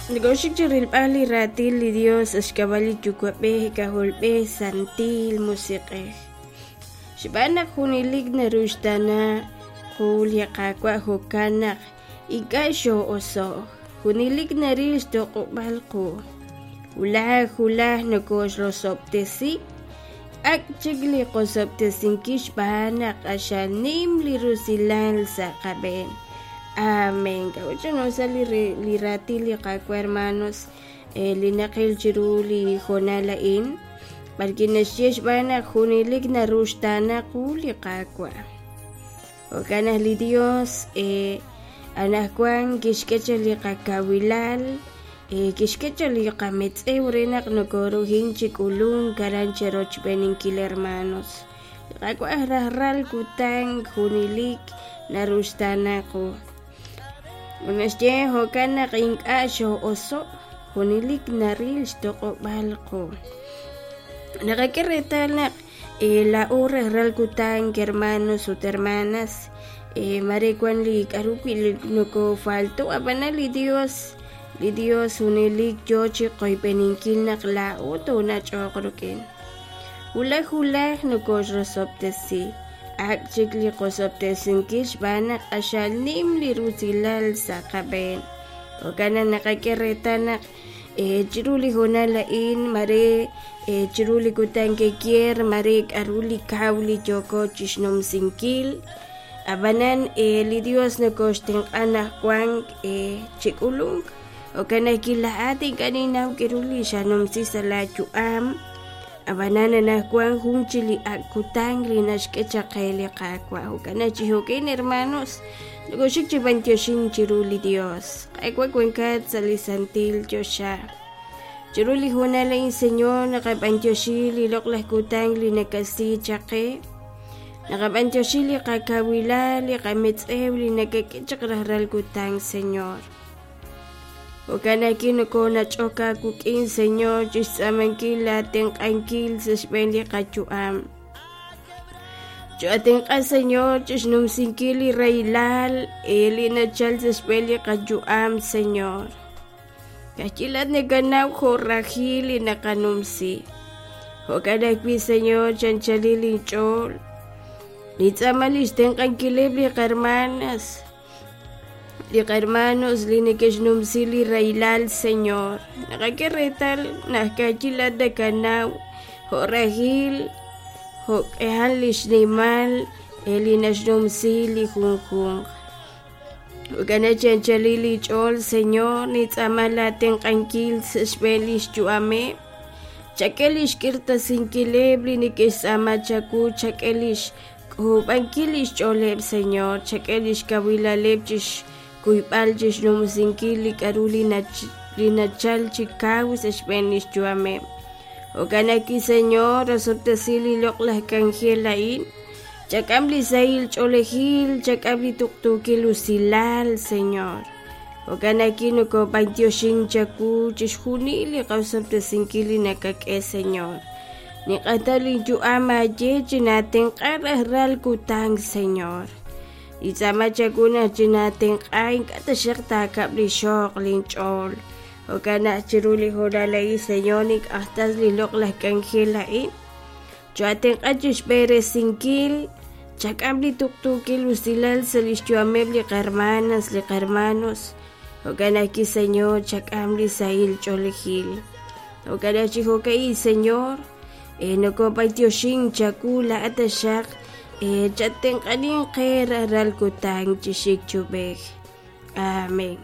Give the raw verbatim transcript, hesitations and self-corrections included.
Nokooxik chi rilb'al li raatin li Dios sa' xk'ab'a' li Yuwa'b'ej, K'ajolb'ej, Santil Musiq'ej. Xb'aan naq junelik naruxtaana qu li Qaawa' jo'kan naq ink'a' xoo'oso'k, junelik naril xtoq'ob'aal qu. Wulaj wulaj nokooxrosob'tesi, ak' chik li qosob'tesinkil xb'aan naq q'axal nim li rusilal sa' qab'een. Amén. K'a'ut li li raatin li Qaawa' hermanos li naqil chiru li hoonal a'in b'arwi' naxye xb'aan naq junelik naruxtaana qu li Qaawa'. Jo'kan naq li Dios anaqwan kixk'e chaq li qakawilal, kixk'e chaq li qametz'ew re naq nokooruhin chi k'ulunk aran cherochb'eeninkil hermanos. Li Qaawa' rajlal kutan junelik naruxtaana qu. Naxye jo'kan naq ink'a' xoo'oso', junelik naril xtoq'ob'aal qu. Naqak'e reetal naq laa'o rajlal kutan hermanos ut hermanas mare wan li k'aru wi' nokoofalto' ab'anan li Dios li Dios junelik yoo chi qoyb'eninkil naq laa'o toonach'oq rik'in. Wulaj wulaj nokooxrosob'tesi, ak' chik li qosob'tesinkil xb'aan naq q'axal nim li rusilal sa' qab'een. Jo'kan naq naqak'e reetal naq chiru li hoonal a'in mare chiru li kutan kekier mare k'aru li kaw li yooko chixnumsinkil. Ab'anan li Dios nokooxtenq'a anaqwan chi k'ulunk. Jo'kan naq laa'at ink'a' ninnaw k'aru li xanumsi sa' laayu'am. Ab'anan anaqwan jun chi li ak' kutan li naxk'e chaq qe li Qaawa'. Jo'kan naq chi jo'kan hermanos nokooxik chi b'antioxink chiru li Dios. Qaawa' wankat sa' li santil choxa. Chiru li hoonal a'in Señor naqab'antioxi li loq'laj kutan li nakasi chaq qe. Naqab'antioxi li qakawilal, li qametz'ew li nakak'e chaq rajlal kutan Señor. Jo'kan naq nokoonach'ok aawik'in Señor chixtz'aamankil laatenq'ankil sa' xb'een li qayu'am. Cho'atenq'a Señor chixnumsinkil li rahilal li nachal sa' xb'een li qayu'am Señor. Kajyilat nakanaw jo' rajil li naqanumsi. Jo'kan ajwi' Señor chanchalil inch'ool. Nintz'aama li xtenq'ankileb' li qarmanas, li qarmanos li neke'xnumsi li rahilal Señor. Naqak'e reetal naq kajyilat nakanaw jo' rajil, jo' k'ehal li xnimal li naxnumsi li junjunq. Jo'kan naq chanchalil li ch'ool Señor nintz'aama laatenq'ankil sa' xb'een li xyu'ameb'. Chak'e li xk'irtasinkileb' li neke'xtz'aama chawu, chak'e li xk'uub'ankil li xch'ooleb' Señor, chak'e li xkawilaleb' chixkuyb'al chixnumsinkil li k'aru li li nachal chi kaw sa' xb'een li xyu'ameb'. Jo'kan naq Señor rosob'tesi li loq'laj k'anjel a'in. Chak'am li sahil ch'oolejil, chak'am li tuqtuukil usilal, Señor. Jo'kan naq nokoob'antioxink chawu chixjunil li qasob'tesinkil li nakak'e, Señor. Niq'atal linyu'am aaye chinaatenq'a rajlal kutan, Señor. Nintz'aama chawu naq chinaatenq'a ink'a' taxaq taakab' li xoq linch'ool. Jo'kan naq chiru li hoonal a'in, Señor, nink'ajtas li loq'laj k'anjel a'in. Cho'atenq'a chixb'eresinkil, chak'am li tuqtuukil usilal sa' li xyu'ameb' li qarmanas, li qarmanos. Jo'kan naq Señor, chak'am li sahil ch'oolejil. Jo'kan naq chi jo'ka'in, Señor, nokoob'antioxink chawu laa'at taxaq chatenq'anin qe rajlal kutan chixik chub'ej. Amén.